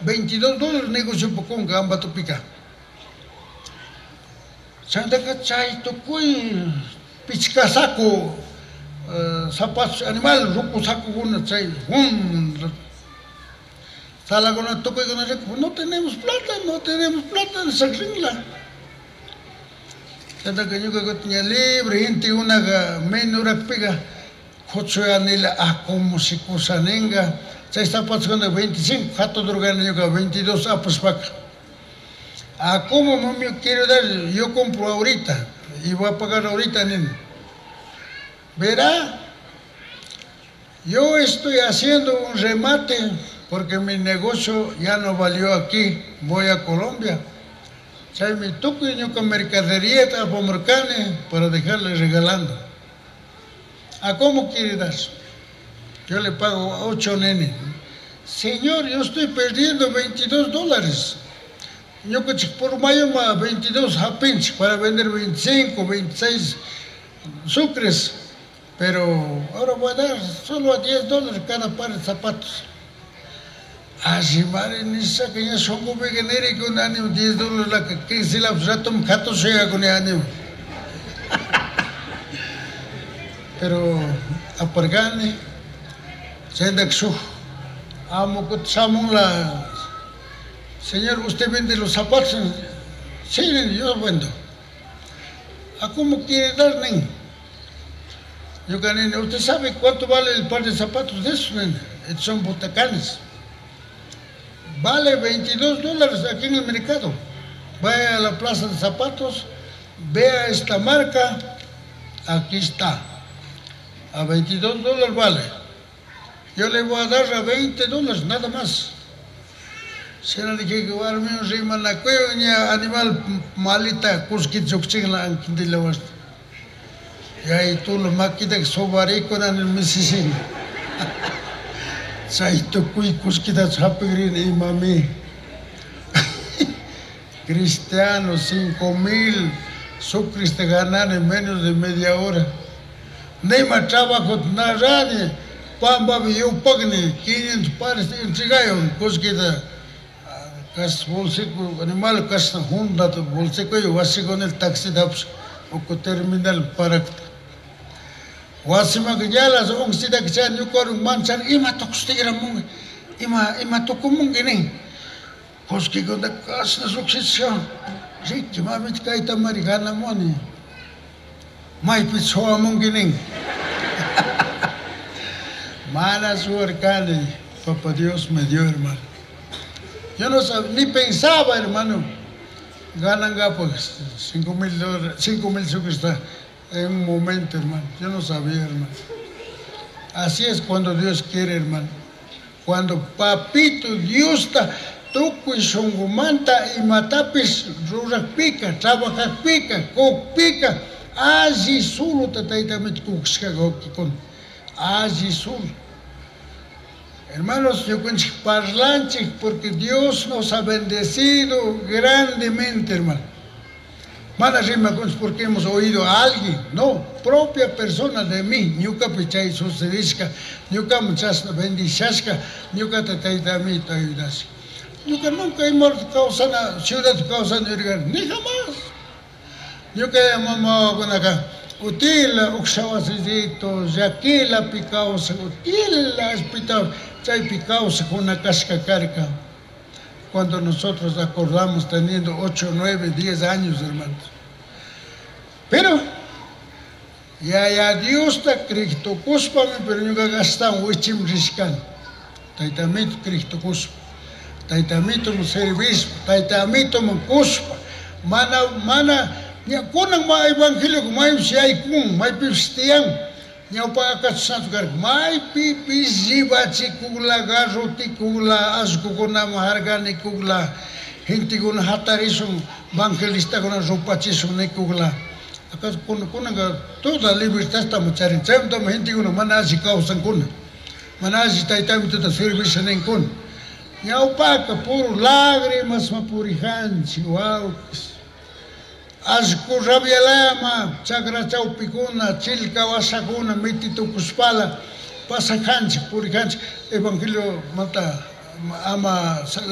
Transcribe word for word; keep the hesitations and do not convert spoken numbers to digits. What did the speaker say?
veintidós dólares negocio kunka Ambatopika. Chaytaka chay tukuy pichka saco uh, zapatos animal ruku sacokuna chay hum salakuna tukuykuna riku, no tenemos plata, no tenemos plata, sakrinla. Chaytaka ñuka kutin ña libre gentekunaka menurakpika kuchuyanila ah como si kusaninga chay zapatokuna veinticinco hatudurkani ñuka veintidós apashpaka. Ah, ¿cómo mami quiero dar? Yo compro ahorita y voy a pagar ahorita, nene. Verá, yo estoy haciendo un remate porque mi negocio ya no valió aquí, voy a Colombia. Chaymi tukuy ñuka mercadería apamurkani para dejarle regalando. ¿A cómo quiere dar? Yo le pago ocho, nene. Señor, yo estoy perdiendo veintidós dólares. Ñukanchik por mayoma veintidós hapinchik para vender veinticinco, veintiséis sucres. Pero ahora voy a dar solo a diez dólares cada par de zapatos. Así mare nishaka ña shunqupika nirikuni diez dólares la quince lapos ratum katushayakuni ánimo. Pero apargani, chayntaka shuk amo kutin shamunla, señor, ¿usted vende los zapatos? Sí, yo vendo. ¿A cómo quiere dar, nen? Yo, nene, ¿usted sabe cuánto vale el par de zapatos de esos, nene? Estos son botacanes. Vale veintidós dólares aquí en el mercado. Vaya a la plaza de zapatos, vea esta marca, aquí está. A veintidós dólares vale. Yo le voy a dar a veinte dólares, nada más. Shina nijika warmiwan rimanakuywan ña animal malita kullkita llukchikla ankintilawashta. Yayitulo makitaka sobarikuna misishina. Chay tukuy kullkita hapikrini imami. Cristiano, cinco mil sucres te ganan en menos de media hora. Nima trabajo na rani, pambapi yupakni, quinientos pares entregayon kullkita. Kas bolsico, animal kasna hundata bolsico y wasi con el taxi daps uku terminal parakta. Wasiman ñalas unqsita chay ñukawan manchan ima tukushtigramunki, ima ima tukumunki nin. Kullkikuna kasna llukshisha, riki mamita kaytamari ganamuni. Maypi suwamunki nin. Mana suwarkani, Papá Dios me dio, hermano. Yo no sabía, ni pensaba, hermano, ganan pues cinco mil dólares, cinco mil sucres en un momento, hermano. Yo no sabía, hermano. Así es cuando Dios quiere, hermano. Cuando papito Dios está, tukuy shunqumanta imatapis ruraqpika, trabajaqpika, kuqpika, alli suluta taytamita kuqshqa wawqikuna, alli sulu. Hermanos, ñukanchik parlanchik porque Dios nos ha bendecido grandemente, hermano. Mana rimakunchik porque hemos oído a alguien, no, propia persona de mí, ñukapi chay sucedishka, ñukaman chashna bendishashka, ñukata taytamita ayudashka. Ñuka nunca ima kawsana, ciudad kawsana yurikani, ni jamás. Ñuka mama wawakunaka, utila uksha wasillito, llakilapi kawsak, utila hospital, chaypi kawsakuna kashka karka. Cuando nosotros acordamos teniendo ocho, nueve, diez años, hermanos. Pero, ya, ya Dios ta kriktukushpami, pero ñuka ashtawan wichim rishkani. Taytamito kriktukushpa, taytamito servishpa, taytamito kushpa, mana, mana, ña kunan ma evangelio maypish yaykun, maypish tiyan, ñawpa akachusnachu karka, maypipish llibachikukla, garrotikukla, allkukunaman harkanikukla, gentekuna hatarishun, evangelistakuna rupachishun nikukla. Acaso kunanka toda libertad estamos charin, chaymantami gentekuna mana alli kawsankuna, mana alli taytamituta servisha ninkuna. Ñawpaka puro lágrimas ma purijanchik, wawkis. Allku rabialama, chakra chawpikuna, chilka wasakuna, mititukushpala, pasajanchik, purijanchik, evangelio manta ama